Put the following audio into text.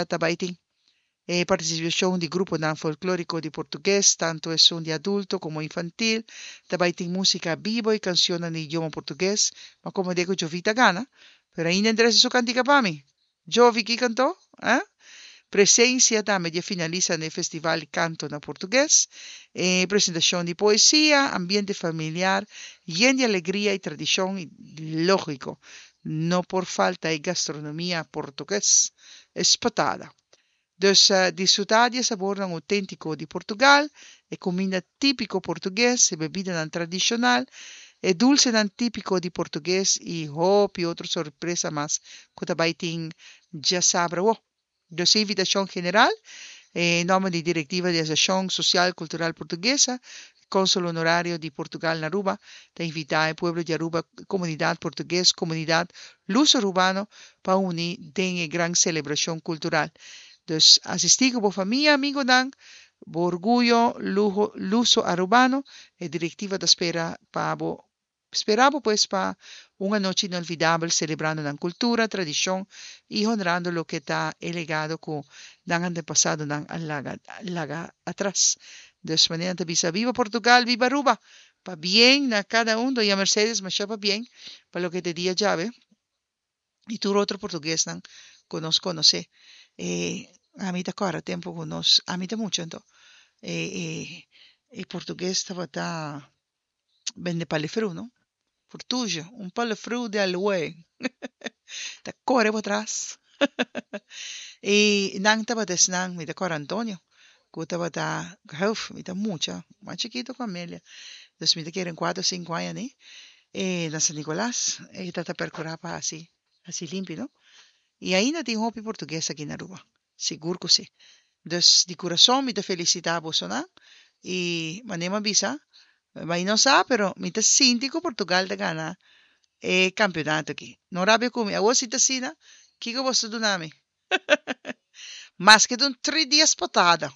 Ta bai tin e partisipashon di gruponan folklóriko di portugues, tantu esun di adulto komo infantil. Ta bai tin músika bibo i kansionnan di idioma portugues. Ma komo de ku Jovita gana, pero ainda interesa su kantika pa mi. Jovi ki kantó? Eh? Presensia tambe di e finalista na e festival di kanto na portugues. E presentashon di poesia, ambiente familiar yen di alegria i tradishon i lógiko, no por falta e gastronomia portugues, espetada. Dus disfrutá di e sabornan outéntiko di Portugal, e kuminda típiko portugues, e bebidanan tradishonal, e dulsenan típiko di portugues i hopi otro sorpresa mas ku ta bai tin djasabra awo. Dus e invitashon general, e nòmber di direktiva di Asosiashon Sosial Kultural Portuguesa, Kònsul Honorario di Portugal na Aruba, ta invitá e pueblo di Aruba, komunidat portugues, komunidat luso-arubano pa uni den e gran selebrashon kultural. Dus asistí ku bo famia, amigonan, bo orguyo luho luso-arubano, e direktiva ta spera pa bo spera bo pues pa un anochi inolvidabel selebrando nan kultura, tradishon i honrando loke ta e legado ku nan antepasadonan a laga laga atras. Dus manera nan ta bisa Viva Portugal, Viva Aruba! Pabien na kada un, Doña Mercedes masha pabien pa loke ta e dia djawe i tur otro portuguesnan ku nos konosé. E ami ta kòrda tempu ku nos, ami ta mucha anto, e e e portugues tabata bende palefru no, Portuge, un palefru de aloe ta kore bo tras. I nan tabata esnan, mi ta kòrda Antonio, ku tabata, huf, mi ta mucha, mas chikitu ku Amelia, dus mi ta kere un kuater o sinku aña ni, e na San Nicolas e ta ta perkurá pa hasi hasi limpi no. I ainda tin hopi portugues aki na Aruba, sigur ku si. Dus di kurason mi ta felisitá bosonan i manera mi a bisa, mi no sa pero mi ta sinti ku Portugal ta gana e kampeonato aki. No rabia ku mi, awor si ta asina, kiko boso ta duna mi? Maske ta un tri dies patada.